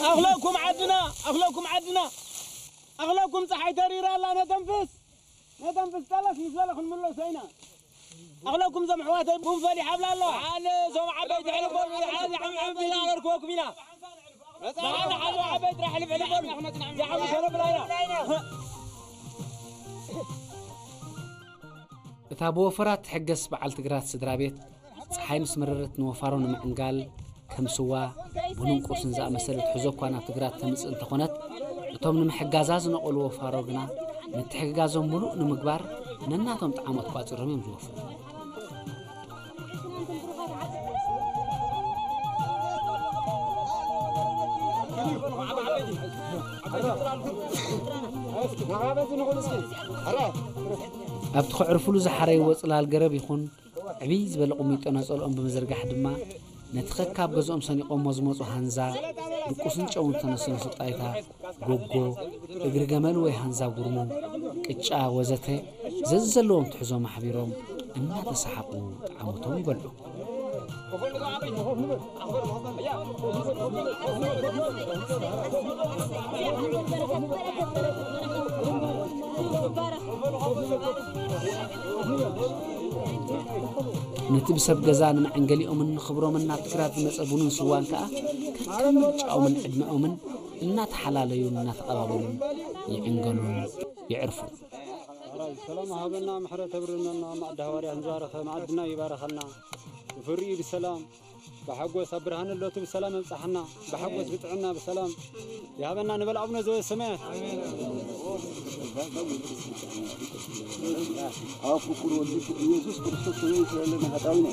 ኣኽለኩም ዓድና፣ ኣኽለኩም ዓድና፣ ኣኽለኩም ጸሓይ ተሪራ ኣላ። ነተንፍስ፣ ነተንፍስ፣ ጠለስ ምስ በለ ክንምለሶ ኢና። ኣኽለኩም ዞም ኣሕዋተይ ቡን ፈሊሕ ኣብላ ኣሎ። ዓለ ዞም ዓበይቲ ሕልቦ፣ ዓለ ዓምዓም ኢላ ኣረርክበኩም ኢና። መጽዓ ንሓዞ ዓበይ ጥራሕ ልብዕሊ በሉ። ዝሓሙ ሰለብላይና። እታ ብወፈራ ትሕገስ በዓል ትግራት ስድራ ቤት፣ ጸሓይ ምስ መረረት ንወፋሮ ንምዕንጋል፣ ከም ስዋ፣ ቡንን ቁርስን ዝኣመሰለ ትሕዞ እኳ ናብ ትግራት ተምጽእ እንተኾነት፣ እቶም ንምሕጋዛ ዝነቐሉ ወፋሮ ግና፣ ምትሕግጋዞም ምሉእ ንምግባር ነናቶም ጣዕሞት ቋጺሮም እዮም ዝወፍሩ። ኣብቲ ከዕርፉሉ ዝሓረይዎ ጽላል ገረብ ይኹን ዕብይ ዝበለ ቁሚጦ ነጸልኦም ብምዝርጋሕ ድማ ነቲ ከካብ ገዝኦም ሰኒቖሞ ዝመጹ ሃንዛ፣ ድቁስን ጨውን ዝተነሰነሱ ጣይታ፣ ጎጎ፣ እግሪ ገመል ወይ ሃንዛ ጉርሙ፣ ቅጫ ወዘተ ዘዝዘለዎም ትሕዞም ኣሕቢሮም እናተሰሓቑ ጣዕሞቶም ይበልዑ። ነቲ ብሰብ ገዛ ንመዐንገሊኦምን ንኽብሮምን ናብ ትግራት ዝመጸ ቡንን ስዋን ከኣ ከከም ምርጫኦምን ዕድመኦምን እናተሓላለዩን እናተቐባበሉን ይዕንገሉን የዕርፉን። ሰላም ሃበና፣ ምሕረት ተብርነና፣ ማዕዳ ሃዋርያ ንዛረኸ፣ ማዕድና ይባረኸልና፣ ፍርዩ ብሰላም ብሓጎስ ኣብ ብርሃን እለቱ ብሰላም የብጽሓና። ብሓጎስ ብጥዕና ብሰላም ይሃበና ንበል ኣቡነ ዘበሰማያት። ኣብ ፍቁር ወልድኪ ኢየሱስ ክርስቶስ ከመይ ይስረልና ሓጣውና።